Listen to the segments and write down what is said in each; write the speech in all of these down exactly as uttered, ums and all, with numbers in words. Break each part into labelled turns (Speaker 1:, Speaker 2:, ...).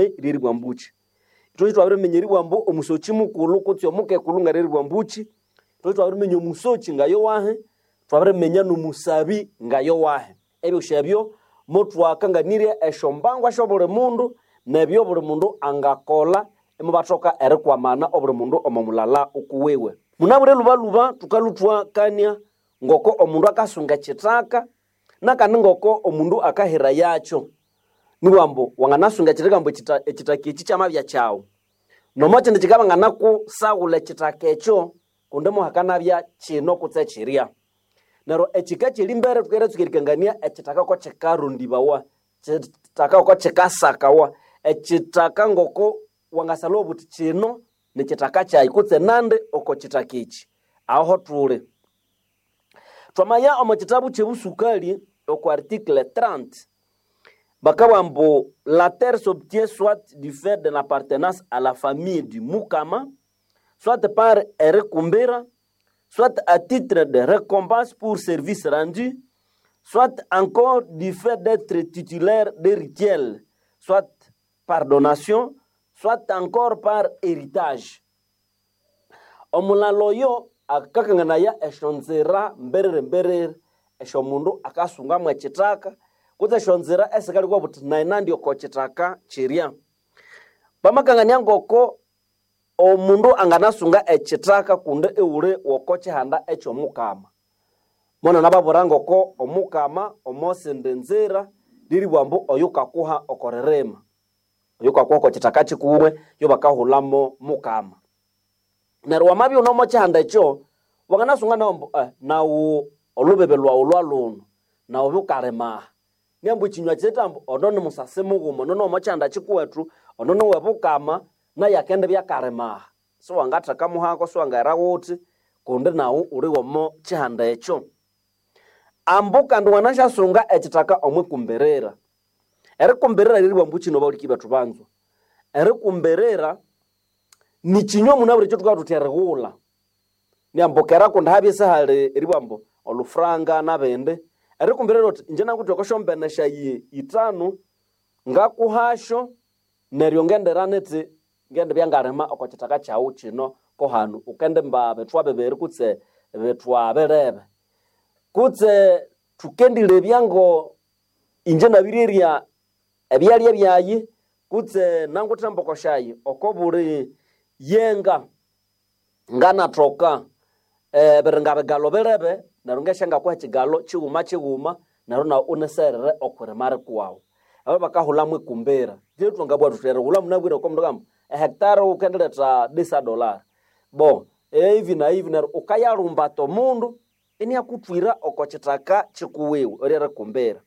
Speaker 1: Lyeribwa mbuki. Ithwe twabiriminya eribwa mbu omusoki mukulhu kutse omukekulhu ngareribwa mbuki, ithwe twabiriminya omusoki ngayowahi, twabiriminya n'omusabi ngayowahi. Ebyosi ebyo motwakanganirya esyombangwa syobuli mundu nebyo buli mundu angakolha imubathoka erikwamana obuli mundu omo mulala ukuwiwe. Munabwire lhubalhuba thukalhuthwakania ngoko omundu akasunga ekithaka nakandi ngoko omundu akahira yakyo. Nibugha ambu wanganasunga ekithaka ambu ekithaka eki kyamabya kyaghu. Nomo kyindi kikabanganakusaghulha ekithaka ekyo kundi muhakanabya kino kutse kirya. Neryo ekika kyerimbere thukeritsuka erikangania ekithaka ngoko ekithaka ngoko kikasakawa, ekithaka ngoko wangasalhawa obuthi kino nikithaka kyayi kutse nandi oko kithaka eki. Aho thuli. Twamaya omo kitabu kyebusukali okwa article trente bakabugha ambu la terre s'obtient soit du fait de l'appartenance à la famille du Mukama, soit par erikumbira, soit à titre de récompense pour service rendu, soit encore du fait d'être titulaire d'héritier, soit par donation, soit encore par héritage. Omulalo oyo akakanganaya esyonzira mberere mberere esyomundu akasungamu ekithaka kutse esyonzira esikalikuwa buthi nayi nandi oko kithaka kirya. Bamakangania ngoko omundu anganasunga ekithaka kundi iwuli woko kihanda eky'omukama. Mona nababwira ngoko omukama omosindi nzira liribugha ambu oyukakuha oko ririma, oyukakuha oko kithaka kikuwe yo bakahulamo mukama. Neryo wamabya iwune omo kihanda ekyo, wanganasunga nawu ambu eh, nawu olubebe lhwawu lwalhuno, nawu bukalima aha. Niambu ekinywa kithi ambu ono ni musasi mughuma, ono niwomo kihanda kikuwethu, ono niwebukama, naye akendibya akalima aha. Siwangatheka muhako, siwangaghira ghuthi kundi nawu uli womo kihanda ekyo. Ambu kandi wanasyasunga ekithaka omwikumbirira. Erikumbirira liribugha ambu kino bahuliki bethu banzwa. Erikumbirira nikinywa munabwire ekyothukalha thuthi erighulha. Niambu kera kundi habya isihali eribugha ambu olufuranga nabindi. Erikumbirira uthi inje nanguthe oko syombene syayi ithanu ngakuhasyo neryo ngendera nithi ngendibya ngalima oko kithaka kyaghu kino kohanu wukendimba bithwa bibiri kutse bithwa birebe. Kutse thukendilebya ngo inje nabirirya ebyalya byayi kutse nanguthe emboko syayi oko buli yenga nganathoka ebiringa bigalo birebe neryo ngesya ngakuha ekigalo kighuma kighuma neryo nawu uniserere okwirima rikuwaghu. Abo bakahulhamu ikumbira. Thwangabugha thuthi erighulha munabwire oko mundu akagamba ehectare wukendiletha disa dollar. Bo ehivi na hivi neryo wukayalumbata omundu iniakuthwira oko kithaka kikuwiwe eryerikumbira.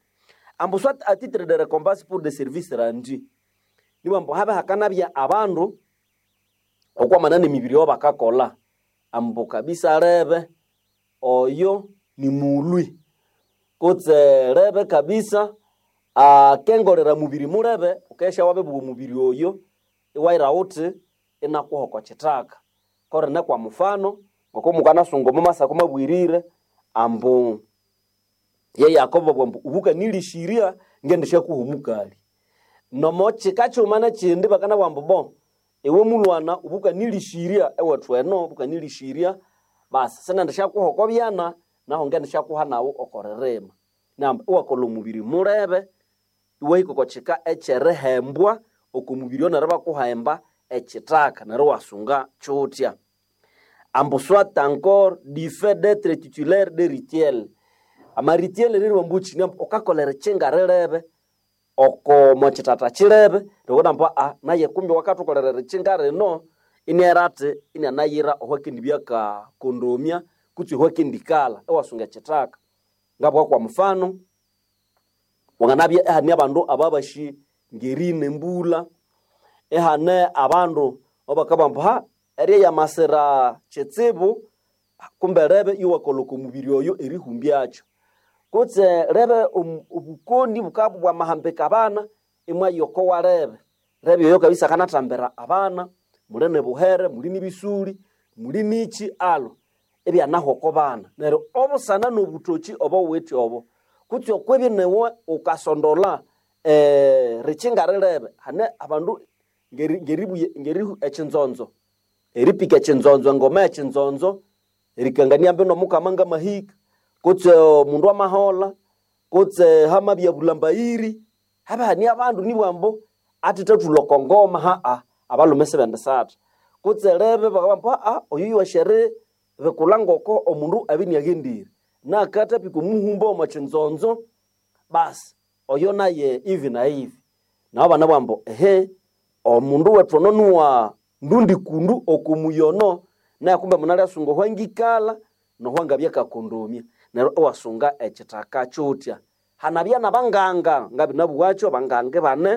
Speaker 1: Ambu soit à titre de récompense pour des services rendus. Nibugha ambu habya hakanabya abandu okwamana nemibiri eyabakakolha ambu kabisa lebe oyo nimulhwi kutse lebe kabisa akengolera mubiri mulebe wukesya wabibugha omubiri oyo iwahira ghuthi inakuha oko kithaka. Korine kwa mufano ngoko mukanasunga omo masako mabwirire ambu ye Yakobo abugha ambu ubukanilishirya ngendisyakuha omukali. Nomo kika kighuma nekyindi bakanabugha ambu bo iwe mulhwana ubukanilishirya ewethu eno ubukanilishirya basi sinendisyakuha oko byana nahu ngendisyakuha nawu oko ririma. Namba iwakolha omubiri mulebe iwahika oko kika ekyerihembwa oko mubiri oyo neryo ibakuhemba ekithaka neryo iwasunga kyuthya. Ambu soit encore du fait d'être titulaire de rituel. Amarituel ririwa ambu kyi ambu wukakolha erikinga rilebe oko mokyithatha kyilebe neryo ambu aa naye kumbi wakathukolera erikinga rino iniera athi inianayira ohwakendibya akakondomya kutse ohwakendikalha iwasunga ekithaka. Ngabugha kwa mufano wanganabya ihane abandu ababasi ngerina embulha, ihane abandu abakabugha ambu ha erye yamasira kitsibu kumbe lebe iwakolha oko mubiri oyo erihumbyakyo. Kutse lebe obukoni bukabya bwamahambika abana imwaya oko walebe. Lebe oyo kabisa akanathambira abana, muli nibuhere, muli nibisuli, muli niki alho ibyanahwa oko bana. Neryo obusana nobuthokyi obowuwithe obo kutse okwibya niwe wukasondolha eh rikinga rilebe hane abandu ngeri ngeribuye ngeri echinzonzo eripika echinzonzo engoma echinzonzo erikangania mbe nomukama ngamahika kutse omundu amahola kutse hamabya bulambayiri habe hani abandu nibwambo atithathulha oko ngoma haa abalhume sibendisatha kutse lebe bakabamba aa oyu yuwashere bikulha ngoko omundu abye inaghendire nakathapika omuhumba omo kyinzonzo basi oyo naye ivi na ivi nabo banabugha ehe omundu wethu ono nuwa ndundi kundu okumuyono naye kumbe munalyasunga ohwangikalha nohwangabya kakondomya neryo iwasunga ekithaka kyuthya hanabya nabanganga ngabinabugha abanganga ibane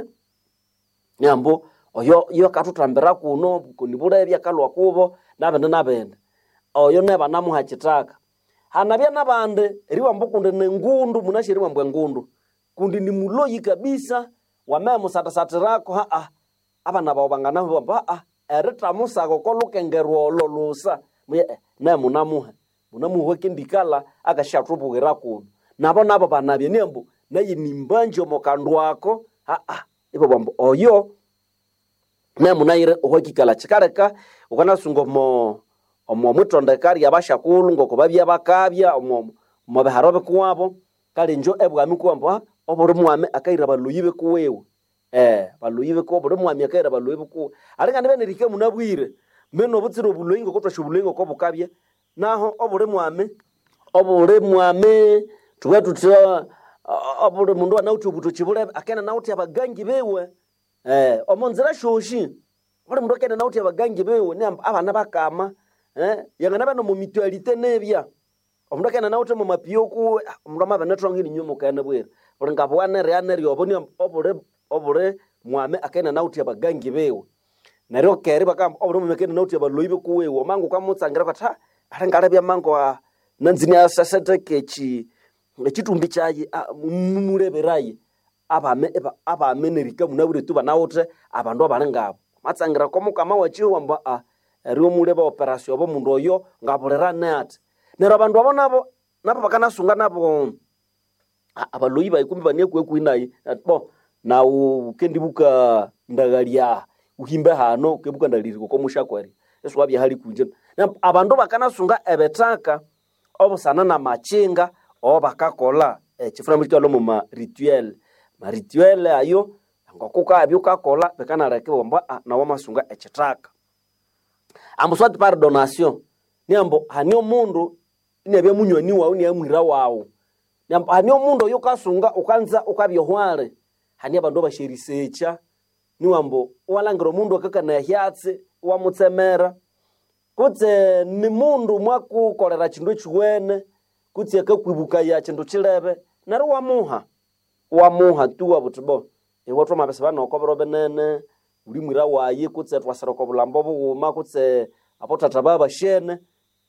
Speaker 1: nyambo oyo yo akathuthambira kuno bukoni bulebya akalhwa kubo nabindi nabindi oyo naye banamuha ekithaka hanabya nabandi eribugha kundi ningundu munasi eribugha ambu engundu kundi nimuloyi kabisa wamemusathasathirakho haa abana bawu banganabugha ambu haa erithamusaka oko lukengerwa olo lusa muye eh, naye munamuha munamuha akendikalha akasyathubwira kuno nabo nabo banabya niambu naye nimbanji omo kandu ako haa ibabugha ambu oyo naye munayire ohwakikalha kikaleka wukanasunga omo omo mwitondeka ryabasyakulhu ngoko babya bakabya omo omo biharo bikuwabo kale injo ebwami kuwambu "Ah, obuli mwami akayira abaloyi bikuwiwe eh baloyi bikuwe obuli mwami akayira abaloyi bikuwe alinga nibya nerihika munabwire mbinu obutsire obuloyi ngoko thwasi obuloyi ngoko bukabya naho obuli mwami obuli mwami thubughe thuthi obuli mundu anawithe obuthoki bulebe akene nawithe abagangi biwe eh omo nzira syosi buli mundu akene nawithe abagangi biwe niamba abana bakama eh yanganabya nomo mutualite nibya omundu akene nawithe mo mapiyo kuwe ah, omundu amabinethonga ininywe mukene bwira buli ngabugha nerya nerya obo niamba obuli obuli mwami akene nawithe abagangi biwe neryo keri bakamba obuli mwami akene nawithe abaloyi bikuwiwe omangu ukamutsangira ukathi ha alingalebya mangu ah, nanzi inasesetheka eki ekitumbi kyayi ah, mumuleberaye abame eba- abame nerika munabwire tu banawithe abandu abali ngabo matsangira komukama wakihuwa ambu aa eryo muleba operation obo mundu oyo ngabulirane athi neryo abandu abo nabo nabo bakanasunga nabo a- abaloyi bayi kumbi banekuwekuhi nayi ati bo nawu wukendibuka ndaghalya uhimbe hano ukebuka ndaliriko komushakweri isiwabya hali kunje Na- abandu bakanasunga ebithaka obusana namakinga obakakolha ekifuna mukikalha omu ma rituel ma rituel ayo ngokukabya wukakolha bikanaleka ibabugha ambu "Ah, nawu wamasunga ekithaka ambu soit par donation niambu hani omundu iniabya munywani wawu iniabya mwira wawu niambu hani omundu oyo wukasunga wukanza wukabya ohwali hani abandu abasyerisekya niwambu iwalhangira omundu akakanaya ehyatsi iwamutsemera kutse ni mundu mwakukolera kindu ekiwene kutse akakwibukaya kindu kilebe neryo iwamuha iwamuha tu iwabugha wuthi bo iwe thwamabisibana oko biro binene wuli mwira wayi kutse thwasira oko bulhambo bughuma kutse abothatha babashene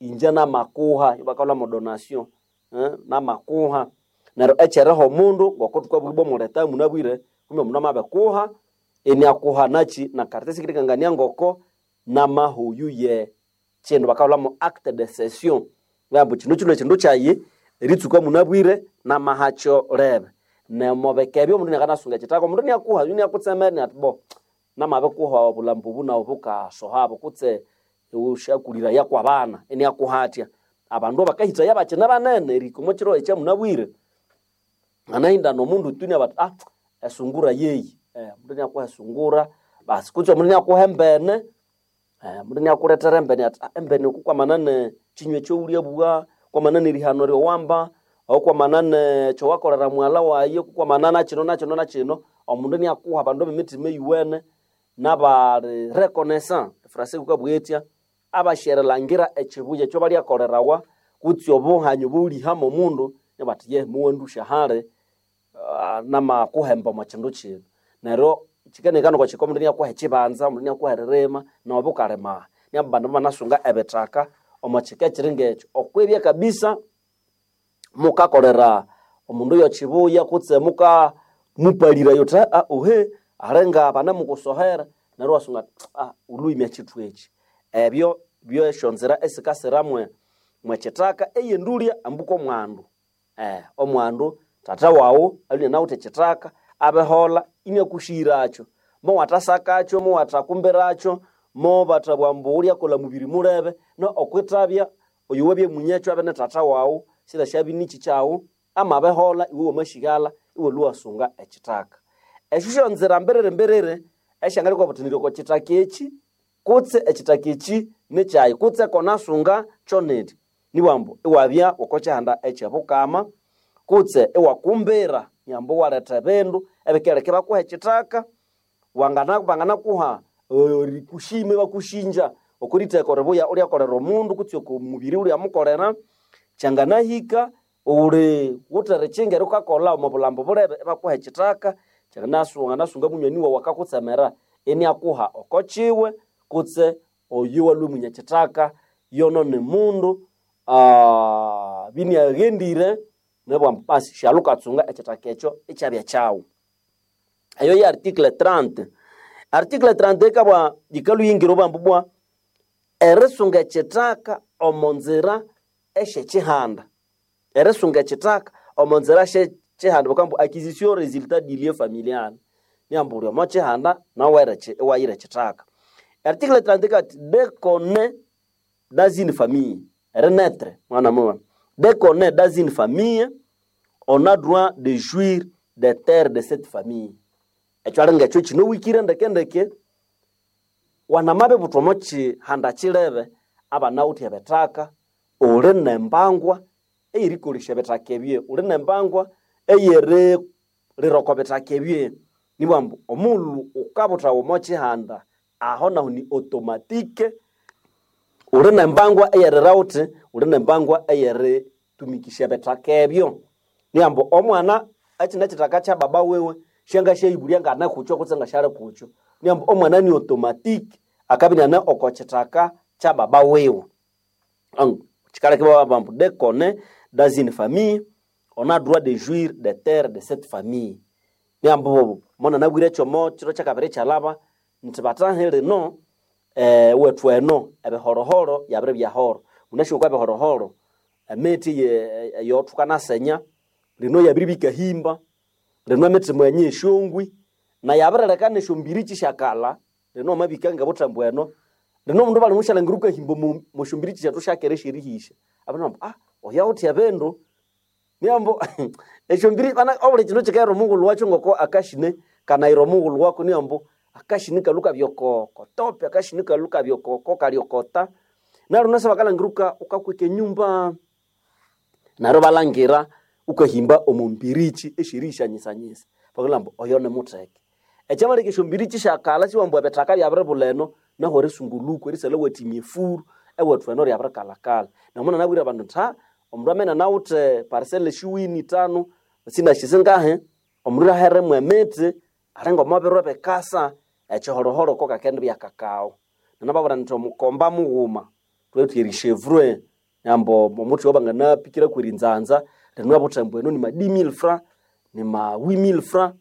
Speaker 1: inje namakuha ibakalhwa mo donation eh, namakuha neryo ekyeriha omundu ngoko thukabugha ibwa omuleta munabwire kumbe omundu amabikuha iniakuha nakyi nakaratasi kirikangania ngoko namahuyu ye kindu bakalhwamo acte de cession ngambu kino kino kindu kyayi eritsuka munabwire namahakyo lebe nemobika ebyo omundu niakanasunga ekithaka omundu niakuha yu niakutsemera niati bo namabikuha obulambu obu nabu bukasohabo kutse ushakuliraya kwabana iniakuha atya abandu bakahithaya bakine banene erihika omo kiro ekyamunabwire anahinda nomundu tu niabati ah esungura yeyi eh, omundu niakuha esungura basi kutse omundu niakuha embene eh, omundu niakulethera embene ati ah, embene oku kwamana ne kinywa ekyowulyabugha kwamana nerihano ryowamba okwamana ne kyowakolera mughalha wayi kwamana nakino nakino nakino omundu niakuha abandu ab'emitima eyuwene nabali reconnaissant efrase kukabugha etya abasyerilhangira ekibuya ekyobalyakolerawa kutse obuhanyu obuwulihamo omundu nibathi ye muwandusya hali ah, namakuhemba omo kindu kino neryo kikanekana okwa kika omundu niakuha ekibanza omundu niakuha eririma nobo wukalima niabu bandu banasunga ebithaka omo kika ekiri ngekyo okwibya kabisa mukakolera omundu yokibuya kutse muka mupalira yuthi "Ah, ohe alinga banamukusohera neryo iwasunga ati, ah ulhuimya kithu eki ebyo byesyonzira esikasira mwe mwekithaka eyendulya ambu komwandu eh omwandu tata wawu alwe inawithe ekithaka abehola inyakushiracho mo watasakacho mo watakumbiracho mo batabwambu ulyakola mubiri mulebe no okwitabya oyo wabye munyecho abe ne tata wawu sila shabinichi chawu amabehola iwe wamashigala iwe luwasunga ekitaka esyo syonzira mbiriri mbiriri esyangalikwa butinirwa oko kitaka eki kutse ekitaka eki nikyayi kutse konasunga kyoneti nibwambu iwabya oko kyihanda ekyebukama kutse iwakumbira nyambu iwaletha ebindu ebikereka ibakuha ekitaka wangana banganakuha rikushime bakushinja okuritheka ribuya ulyakolera omundu kutse oko mubiri ulyamukolera kyanganahika uli wutere kyinga ukakola omo bulambo bulebe ibakuha ekitaka kyanganasunga munywani wawu akakutsemera iniakuha oko kiwe kutse oyo walwe munyakitaka yono ni mundu uh, biniaghendire nibwambu basi shalukatsunga ekitaka ekyo ikyabya kyawu. Eyo ye article thirty. Article thirty ikabwa yikaluyingira obwambu bwa erisunga ekitaka omo nzira esyekyihanda. Erisunga ekitaka omo nzira esyekihanda bakambu acquisition resultat du lien familial. Niambu uli omo kihanda nawe iwayira ekitaka. Article thirty kati dès qu'on est dans une famille, renaître mwana mwa. Dès qu'on est dans une famille, on a droit de jouir des terres de cette famille. Ekyo alinga ekyo kino wikire ndeke ndeke wanamabe buthwa omo kihanda kilebe abanawithe ebithaka uli nembangwa eyerikolesya ebithaka ebye uli nembangwa eyerilira oko bithaka ebye nibwambu omughulhu ukabuthawa omo kihanda aho nahu ni automatique uli nembangwa eyerira wuthi uli nembangwa eyeritumikisya ebithaka ebyo niyambu omwana ekine ekithaka kya baba wiwe syangasyayibulya ngane kukyo kutse ngasyali kukyo niyambu omwana ni automatic akabya inane oko kithaka kya baba wiwe. Kikaleka ibabugha dès qu'on est dans une famille on a droit de jouir des terres de cette famille. Niyambu monanabwire ekyomo kiro kyakabiri kyalaba nti bathahi lino eh, wethu eno ebihorohoro yabiribya horo munasi okwa ebihorohoro emithi eyothukanasenya lino yabiribikahimba lino emithi mwenye esyongwi na yabirileka nesyombiriki syakalha lino wamabika ngabuthembu eno lino omundu balimusyalangira ukahimba musyombiriki syethu syakera esyerihisya abandu ah oyo awithe ebindu niyambu esyombiri bana obuli kindu kikaghera omughulhu wakyo ngoko akashine kanayira omughulhu wako niyambu akashini kalhu kabya oko kotope akashini kalhu kabya oko kokalyokota neryo nasa bakalangira uka ukakweka enyumba neryo balangira ukahimba omo mbiriki esyerihisyanyisanyisa bakalhamba ambu oyo nimutheke. Ekyamaleka esyombiriki syakalha siwambu ebithaka byabiribulha eno nahu erisungulhuku erisalha iwathimya efuru ewethu eno ryabirikalhakalha. Namuna nabwire abandu nthi ha omundu amene anawithe parcel esyiwini ithanu sinasi singahi omundu aheremu emithi alinga omo biro ebikasa ekihorohoro ko kakendibya kakao. Nanababwira nthi omukomba mughuma thuwithe erishevure nambu omuthi owabanganapikiraku erinzanza lino obuthembu eno nima dix mille francs nima huit mille francs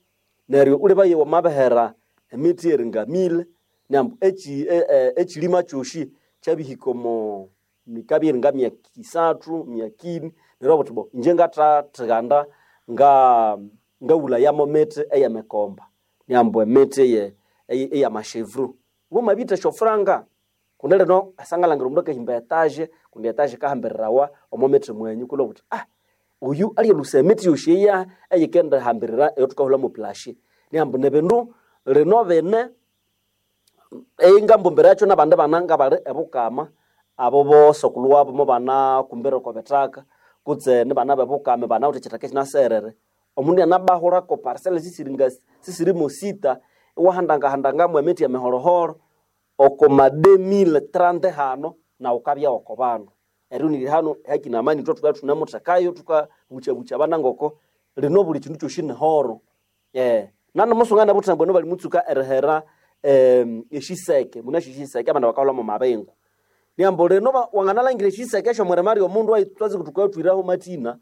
Speaker 1: neryo wulhebaye wamabihera emithi eringa mille nambu eki ekilima kyosi kyabihika omo mikabya eringa myaka isathu myaka ini neryo iwabugha wuthi bo inje ngathathiganda nga ngawulhayamu emithi eyemikomba niyambu emithi eye eyamashevuru wamabitha esyofuranga kundi lino esangalhangira omundu akahimba etaje kundi etaje yikahambirirawa omo mithi mwenyu kulhwa wuthi ah oyu alyalhusa emithi yosi eya eyikendihambirira eyathukahulhamu pulashi niyambu nibindu lino bine eingambumbira nabandi bana ngabali ebukama abo bosokulhu wabo mubanakumbira oko bithaka kutse nibana bebukama banawithe ekyithaka ekyinaserere omundu inanabahurako parcel sisiringa sisirimo sita iwahandangahandangamu emithi emihorohoro oko ma deux mille trente hano nawu ukabya oko bandu. Eryo niri hano hakina amani ithwe thukabya ithunemuthekayo thukabukyabukya abana ngoko lino buli kindu kyosi nihoro. Nanamusunga buthembu eno balimutsuka erihera esyiseke munasi esyiseke abandu bakahulhamu amabingu. Niyambu lino wanganalangira esyiseke esyomwirima lyomundu thwatsi thukathwiraho mathina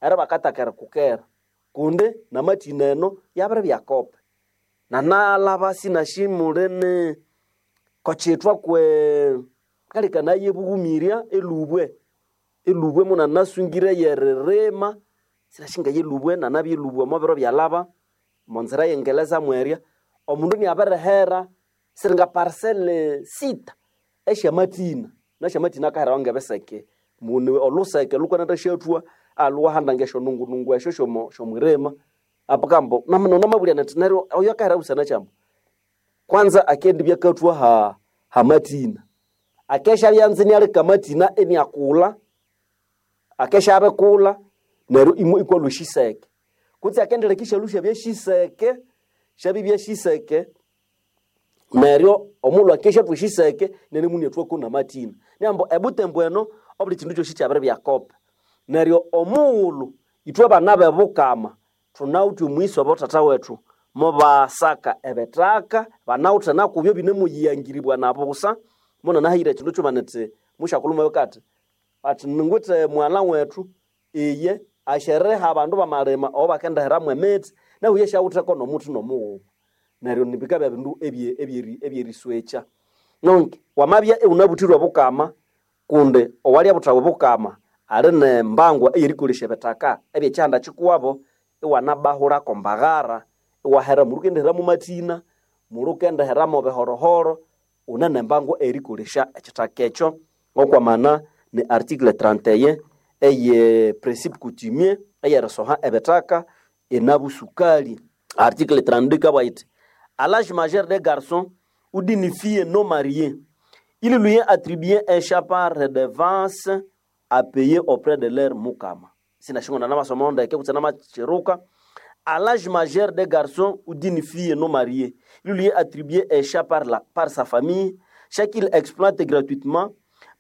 Speaker 1: eri bakataka erikukera kundi namathina eno yabiribya kope. Nanalhaba sinasi mulini kokyithwa kwe kalikanaya ebughumirya elubwe elubwe munanasungire yeririma sinasi ngayelubwe nanabya elubwe omo biro byalhaba Monzira yengeleza mwerya omundu niaberehera siringa parcelle sita esyamatina nasyamatina akaherawa ngebiseke muni oluseke lukwanatha syathwa aluwahanda ngesyonungunungu esyo syomo syomwirima apakambo namabulya neti neryo oyo akahera busana kyambo kwanza akendi byakathwa ha hamatina akesha byanza inialeka amatina iniakulha akesha abikulha neryo imwe ikwalwa eshiseke kutse akendileka isyalu syabya shiseke syabibya shiseke neryo omulhu akeshathwa eshiseke nene muniathwako namatina niambo ebutembo eno obuli kindu kyosi kyabiribya kope neryo omughulhu ithwe bana b'ebukama thunawithe omwisi obothatha wethu mubasaka ebithaka banawithe nakubyo binemuyiyangiribwa nabusa munanahayire ekindu kyuma nithi musyakulhu mwabika athi athi ningwithe mughalha wethu iye asyeriha abandu bamalima obo bakendiheramu emithi nahu iye syawitheko nomuthi nomughuma neryo nibikabya bindu ebye- ebyeri- ebyeriswekya nonke wamabya iwunabuthirwe obukama kundi owalyabuthawa obukama ali nembangwa eyerikolesya ebithaka ebyekyihanda kikuwabo iwanabahulako mbaghara iwahera mulukendiheramu matina mulukendiheramu bihorohoro une nembangwa eyerikolesya ekyithaka ekyo ngokwamana ni article trente et un eye principe coutumier eyerisoha ebithaka enabusukali. Article trente-deux ikabugha yithi à l'âge majeur des garçons ou d'une fille non mariée il lui est attribué un champ par redevance à payer auprès de leur mukama. Sinashingona namasoma ndeke kutse namachiruka. À l'âge majeur des garçons ou d'une fille non mariée, il lui est attribué un champ par, la, par sa famille, chaque qu'il exploite gratuitement,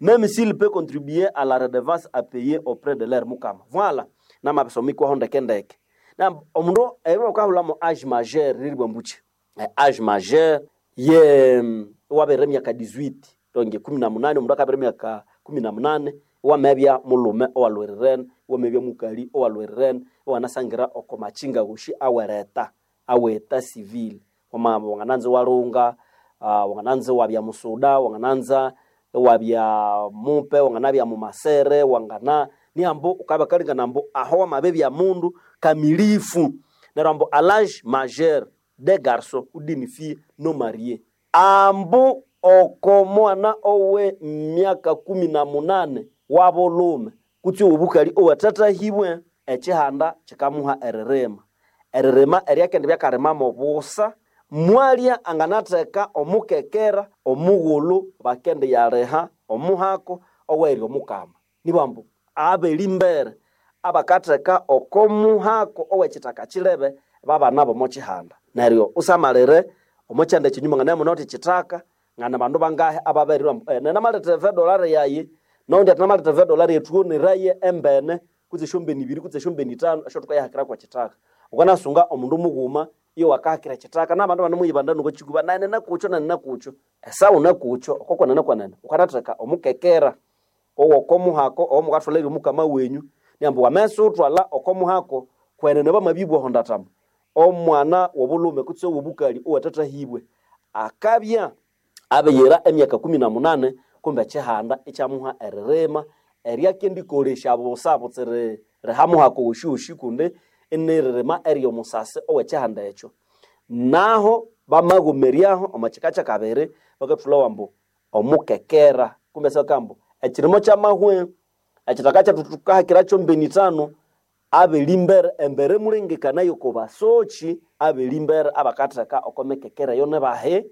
Speaker 1: même s'il peut contribuer à la redevance à payer auprès de leur mukama. Voilà. Namabisomi kwaho ndeke ndeke. Na omundu ebyo bakahulamo âge majeur riribwa mbuchi. Eh, âge majeur ye wabere emyaka dix-huit donc kumi na munane omundu akabere emyaka kumi na munane wamebya mulume owalwerirene wamebya mukali owalwerirene iwanasangira oko machinga woshi awereta aweta civil wama wangananza walunga uh, wangananza wabya musuda wangananza wabya mupe wanganabya mumasere wangana niambo ukaba kalingana ambo aho wamabebya mundu kamilifu neryo ambo à l'âge majeur des garçons ou d'une fille non mariée ambu oko mwana owe myaka kumi na munane wabulume kutse obukali owathathahibwe ekihanda kikamuha eririma eririma eryakende byakarimamo busa mwalya anganatheka omukekera omughulhu bakende yaliha omuhako owerya omukama nibambu abelimbere abakatheka oko muhako owekithaka kilebe babana bomo kihanda neryo usamalire omo kyanda ekinyuma nganamuna uthi kithaka ngana bandu bangahe ababerirwa eh, nenamaleta dolari yayi noundi ati namaleta dolari ethuoneraye embene kutse esyombeni ibiri kutse esyombeni itano esyo thukayahakira kwa kithaka ukanasunga omundu mughuma iyo wakahakira kithaka nabandu banemuyibanda nuko kikuba nane nakukyo nane nakukyo esawu nakukyo okokwanene kwanene ukanatheka omukekera owokomuhako owomukathwalere omukama wenyu niambu wamesa uthwalha okomuhako kwenene bamabibwa hondatama omwana wobulhume kutse owobukali owathathahibwe akabya abiyira emyaka kumi na munane kumbe ekihanda ikyamuha eririma eryakendikolesya busa butsiri rihamuhako woshiwoshi kundi iniririma eryomusasi owekihanda ekyo naho bamaghomeryaho omo kika kyakabiri bakathulhawa ambu omukekera kumbe sibakambu ekirimo kyamahwe ekithaka kyethu thukahakira mbeni ithano abelimbere embere mulengekanayo kobasoki abelimbere abakatheka oko mikekera eyo nibahi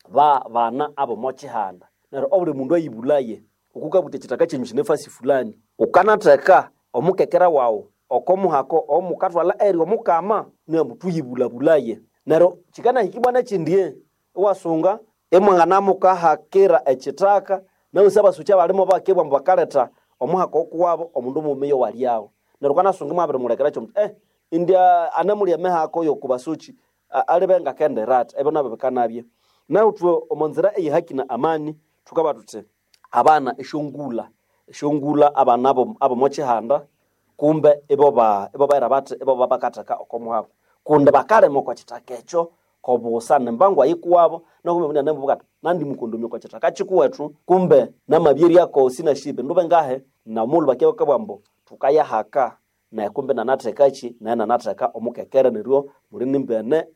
Speaker 1: ba bana abomo kihanda neryo obuli mundu ayibulaye okukabutha ekithaka kyenyu kinefasi fulani ukanatheka omukekera wawu oko muhako omukathwalha eri omukama niambu thuyibulabulaye neryo kikanahikibwa nekyindi iwasunga imwanganamukahakira ekithaka nausi abasuki abalimo bakibwa ambu bakaletha omuhaka okuwabo omundu mughuma iyo walyawo neryo ukanasunga imwabirimulekera kyomuthi eh indya anamulya emihako yokubasuki alibe ngakendera athi ebyo nabyo bikanabya nahu thwe omo nzira eyehaki na amani thukaba thuthi abana esyongulha esyongulha abana abo- abomo kihanda kumbe ibo ba ibo baira bathi ibo babakatheka oko muhako kundi bakalima oko kithaka ekyo kobusa nembangwa yikuwabo nokumbe munene mbuka nandi mukondomia oko kithaka kikuwethu kumbe namabyeryako sinashibe ndube ngahe namulhu bakebwambu thukayahaka Naye kumbe nanathekachi naye nanatheka omukekere neryo muli nimbene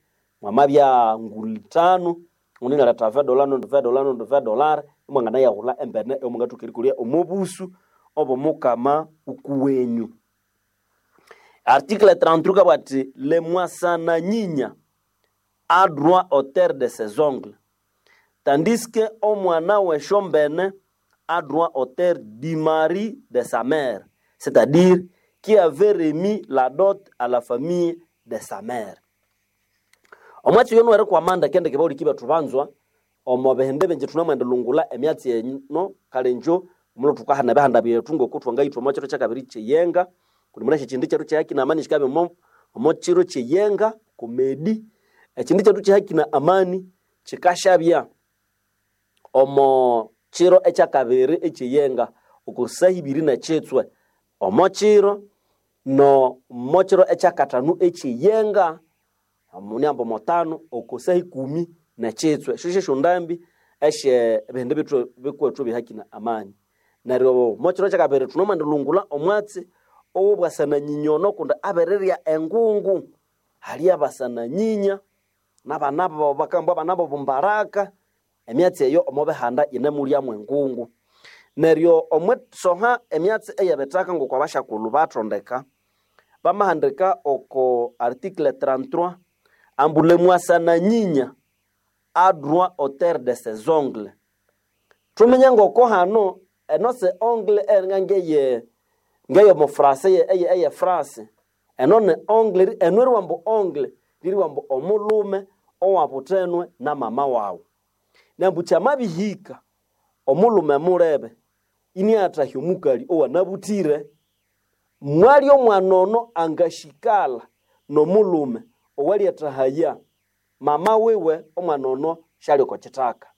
Speaker 1: mwamabya nguli tano undi inaletha vedola nundi vedola nundi vedolar imwanganayaghulha embene eyomungathoka erikolya omo busu obw'omukama ukuwenyu. Article trente-trois kabugha ati le mwasananyinya a droit au terre de ses ongles, tandis que omwana w'esyombene a droit au terre du mari de sa mère, c'est-à-dire qui avait remis la dot à la famille de sa mère. Omwatsi oyo niwerikwama ndekendeke bahuliki bethu banzwa omo bihindi bingi thunamwendelungulha emyatsi eno kale injo omulo thukahana ebihanda byethu ngoko thwangayithwa omo kiro kyakabiri kyeyenga kundi munasi ekyindi kyethu kyehaki na amani kyikabya omo omo kiro kyeyenga komedi. Ekyindi kyethu kyehaki na amani kyikasyabya omo kiro ekyakabiri ekyeyenga oko saha ibiri nekyitswe omo kiro no mo kiro ekyakathanu ekyeyenga omunyambo motano oko saha ikumi nekyitswe. Esyo syesyondambi esye ebihindi bithu bikwethu ebyehaki na amani. Neryo omokiro kyakabiri thunomwendelungulha omwatsi owobwasananyinya ono kundi abirirya engungu. Hali abasananyinya nabana babo bakamba abana b'obumbaraka emyatsi eyo omo bihanda yinemulyamu engungu. Neryo omwisoha emyatsi eyebithaka ngoko abashakulhu bathondeka bamahandika oko article trente-trois ambu le mwasananyinya a droit au terre de ses ongles. Thuminye ngoko hano eno se ongle eringa ngeye ngeyo frase eye eye frase eno ne ongle eno eriwambu ongle liriwambu omulhume owabuthenwe na mama wawu. Nambu kyamabihika omulhume mulebe iniathahya omukali owanabuthire mwali omwana ono angashikala n'omulhume owalyathahaya mama wiwe omwana ono syali oko kithaka.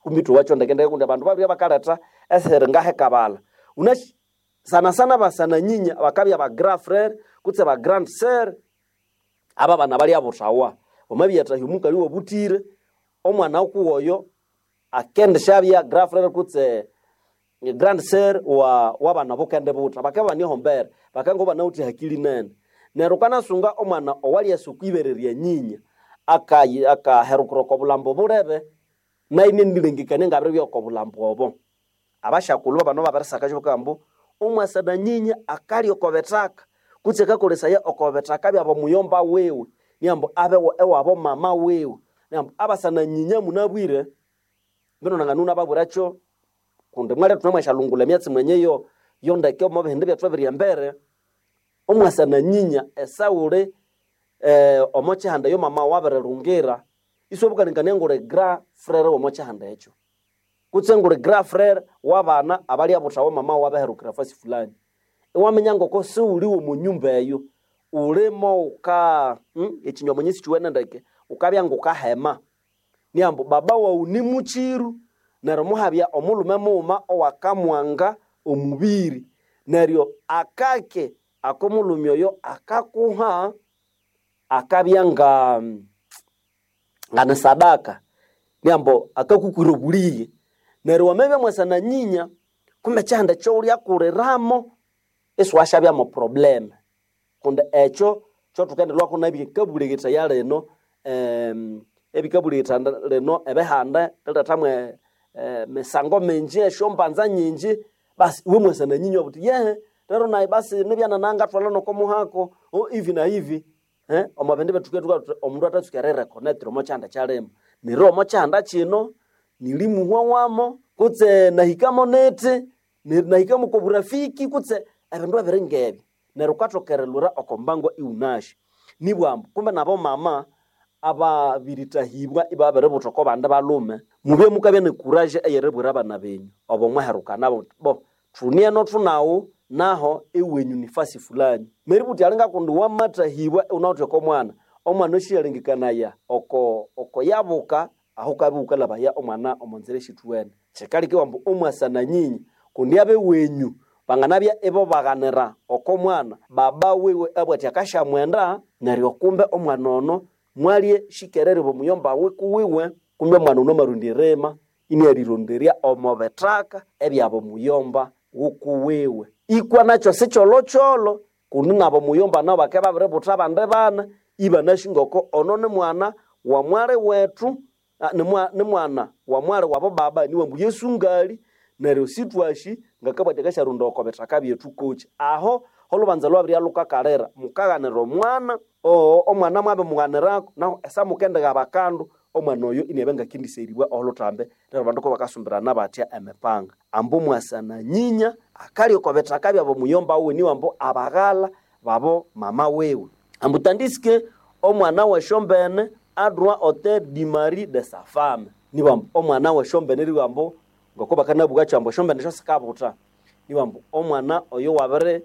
Speaker 1: Kumbi thowakyo ndekendeke kundi abandu babirya bakaletha esiri ngahekabala. Unasi sana sana basananyinya bakabya ba grand frère kutse ba grande sœur aba bana balyabuthawa. Wamabyathahya omukali owabuthire omwana kuwoyo akendisyabya grand frère kutse grande sœur wa wabana bukendibutha bakabya banihombera bakanga banawithe hakili nene. Neryo wukanasunga omwana owalyasa okwibere lya nyinya akayi akaherukira oko bulhambo bulebe nayo inanilengekania ngabiribya oko bulhambo obo. Abashakulhu babano babirisakakyo bakabugha ambu omwasananyinya akalya oko bithaka kutse akakolesaya oko bithaka byabo muyomba wiwe niambu abe ewabo mama wiwe niambu abasananyinya munabwire mbino nanganu nababwirakyo kundi mwalya thunamwasyalungulha emyatsi mwenye yo yondeke omo bihindi byethu ebiri embere. Omwasananyinya esawuli eh, omo kyihanda eyo mama wabirilungira isiwabukalengekania nguli grand frere womo kyihanda ekyo kutse nguli grand frere wabana abalyabuthawa mama wabiherukira fasi fulani. Iwaminya ngoko siwuli womo nyumba eyo ulimo wuka hmm, ekinywa mwenye sikiwene ndeke wukabya ngukahema niambu baba wawu ni mukiru neryo muhabya omulhume mughuma owakamwanga omubiri neryo akake akomulhume oyo akakuha akabya nga ngani sadaka niambu akakukwira obulighe. Neryo wamabya mwasananyinya kumbe ekyihanda ekyowulyakuliramo isiwasyabyamo problem kundi ekyo kyothukendelhwako nabikabulekethaya lino em, ebikabuleketha lino ebihanda rilethamu emisango mingi esyombanza nyingi basi iwe mwasananyinya iwabugha wuthi yehe lero nayi basi nibya nanangathwalha noko muhako oh hivi na hivi eh, omo bindi bethu thukabya thuthi omundu athatsuka erireconnectira omo kyihanda kyalimo. Neryo omo kyihanda kino nilimuhwa wamo kutse nahikamo nithi nahikamo oko burafiki kutse ebindu ebiri ngebyo. Neryo wukathoka erilhwira oko mbango iwunasi. Nibwambu kumbe nabo mama ababirithahibwa ibabiributha oko bandi balhume mubye mukabya ne courage eyeribwira abana benyu obo mwaherukana muthi bo thunieno thunaghu naho ewenyu ni fasi fulani. Meributhi alinga kundi wamathahibwa iwunawithe oko mwana omwana osyalengekanaya oko oko yabuka aho wukabya wukalhabaya omwana omo nzira esithuwene. Kyikaleka iwamba omwasananyinya kundi abewenyu banganabya ibabaghanira oko mwana baba wiwe abugha athi akasyamwenda neryo kumbe omwana ono mwalye shikerere omuyomba kuwiwe kumbe omwana ono amarondya erima iniarironderya omo bithaka ebyabo muyomba wukuwiwe. Ikwa nakyo sikyolhokyolho. Kundi nabo muyomba nabo bake babiributha abandi bana ibanashingoko ono ni mwana wa mwali wethu, ni mwana wa mwali wabo baba niwambu Yesu ngali neryo sitwashi ngakabwati akasharunda oko bithaka byethu kochi. Aho olubanza lwabirya lukakalira mukaghanira omwana oo omwana mwabe mughanirako naho esamukendigha bakandu omwana oyo iniabya ngakendiseribwa oluthambe neryo abandu kubakasumbirana batya emipanga. Ambu mwasana nyinya akalya oko bithaka byabo muyomba wiwe niwambu abaghala babo mama wiwe. Ambu tandisike omwana wesyombene a droit au di mari de sa femme. Niwambu omwana wesyombene riwambu ngoko bakanabugha kyambu esyombene syo sikabutha. Niwambu omwana oyo wabiri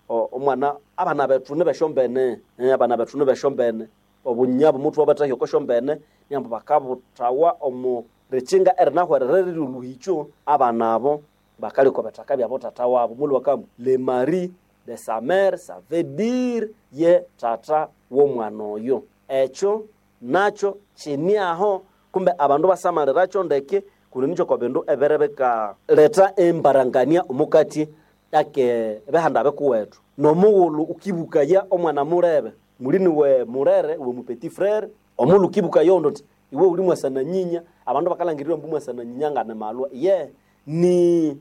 Speaker 1: omwana abana bethu nibesyombene, abana bethu nibesyombene obunyabo muthu wabathahya oko syombene niambu bakabuthawa omu rikyinga erinahwerere riri oluhikyo abana abo bakalya oko bithaka byabo tata wabo. Mulhu bakambu le mari de sa mère ça veut dire ye tata w'omwana oyo. Ekyo nakyo kini aho kumbe abandu basamalira ndeke kundi nikyo oko bindu ebere bikaletha embarangania omukati ake bihanda bikuwethu. Nomughulhu ukibukaya omwana mulebe mulini we mulere we mu petit frere omughulhu ukibukaya ondu uthi iwe uli mwasana nyinya abandu bakalhangirira ambu mwasana nyinya ngane malwa ye ni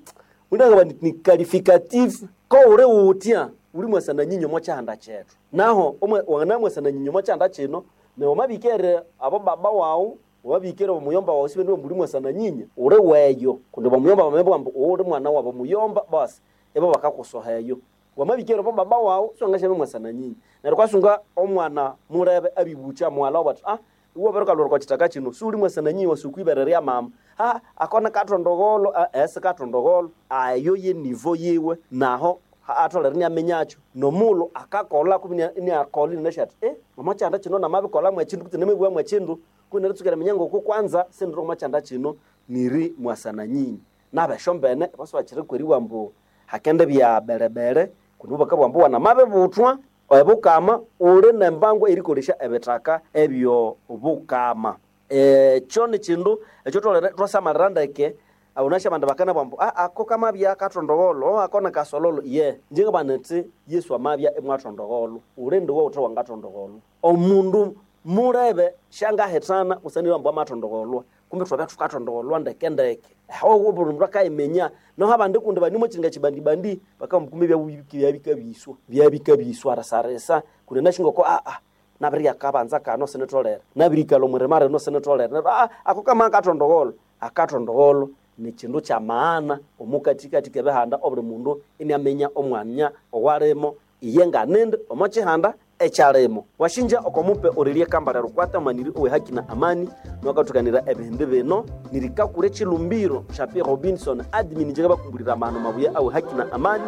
Speaker 1: unangaba ni qualificatif ko uli wutya uli mwasana nyinya omo kyihanda kyethu. Naho wanganamwasana nyinya omo kyihanda kino neryo wamabikere abo baba wawu wamabikere omuyomba wawu sibende uli mwasana nyinya uli weyo kundi bamuyomba bamabugha ambu uli mwana wabo muyomba basi ibo bakakusoha eyo. Wamabikere abo baba wawu siwangasyabya mwasana nyinya. Neryo kwasunga omwana mulebe abibukya mughalha wabu athi ah iwe wabirikalhwira oko kithaka kino siwuli mwasana nyinya wasi okwibere lya mama ah ako nikathondogholho ah sikathondogholho ayo ye nivo yiwe naho atholere iniaminyakyo. Nomughulhu akakolha kumbe iniakolha inanasi athi eh omo kyihanda kino namabikolhamu ekyindu kutse namabughamu ekyindu kumbe neritsuka eriminya ngoko kwanza sindiri omo kyihanda kino niri mwasana nyinya. Nabesyombene basibakyirikweriwa ambu hakendibya berebere kundi bakabugha ambu wanamabibuthwa ebukama uli nembango erikolesya ebithaka ebyo bukama. Ekyo nikyindu ekyo thutholere ithwasamalira ndeke wunasi abandu bakanabugha ambu ah ako kamabya kathondogholho ako nikasolholho ye inje ngabugha nithi Yesu amabya imwathondogholho uli ndiwe wuthe wangathondogholhwa. Omundu mulebe syangahithana busana ambu amathondogholhwa kumbe ithwabya thukathondogholhwa ndeke ndeke. Aho buli mundu akayiminya naho abandi kundi banimo kyiringa kyibandibandi bakabugha kumbe byabikabiswa byabikabiswa risarisa kundi nasi ngoko ah nabirya akabanza kano sinitholere nabirikalha omwirima rino sinitholere neryo ah ako kama kathondogholho akathondogholho nikyindu kyamaana omukathikathi kebihanda obuli mundu iniaminya omwanya owalimo iye nganindi omo kyihanda ekyalimo. Washinja okomupe Aurelie Kambale Rukwata mwaniri owe haki na amani nwakathukanira ebihindi bino nirikakura ekilumbiro sha Pierre Robinson admin nje bakumbulira amahano mabuya awe haki na amani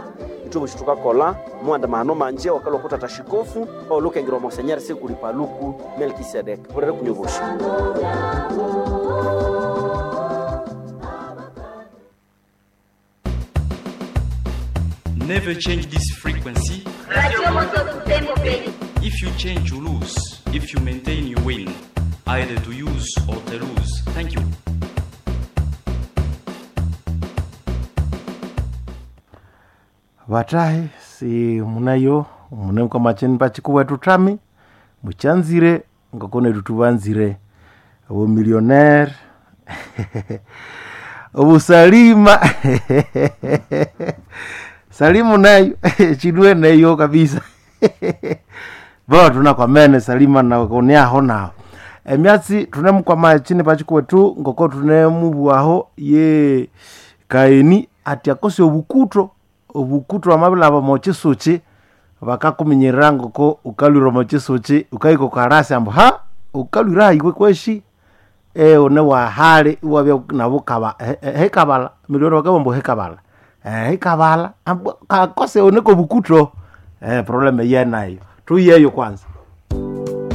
Speaker 1: ithwe bosi thukakolha muwandi mahano manje wakalwa kutata shikofu olukengera omosenyeri sikuli paluku Melkisedek bulere kunywa bosi.
Speaker 2: Never change this frequency.
Speaker 3: Radio Moto Butembo Beni.
Speaker 2: If you change, you lose. If you maintain, you win. Either to use or to lose. Thank you.
Speaker 4: Vatahi si munayo mune kwamacheni pachikuwetu tami muchanzire ngakone tutuvanzire obumillionaire obusalima salimu nayo chinue neyo kabisa bo tunakwamene salima nakoneaho naho emyatsi tunemukwama chini pachikuwetu ngoko tunemubwaho ye kaini ati akose obukuto obukuto amabilaba mochisuchi bakakuminyirira ngoko ukalwira mochisuchi ukaika ukarasi ambu ha ukalwira iwe kweshi e one wahali iwabya nabo kaba hekabala milioni bakabambo hekabala eh hekabala ambu kakose one kobukuto eh problem yenayo tuyeyo kwanza.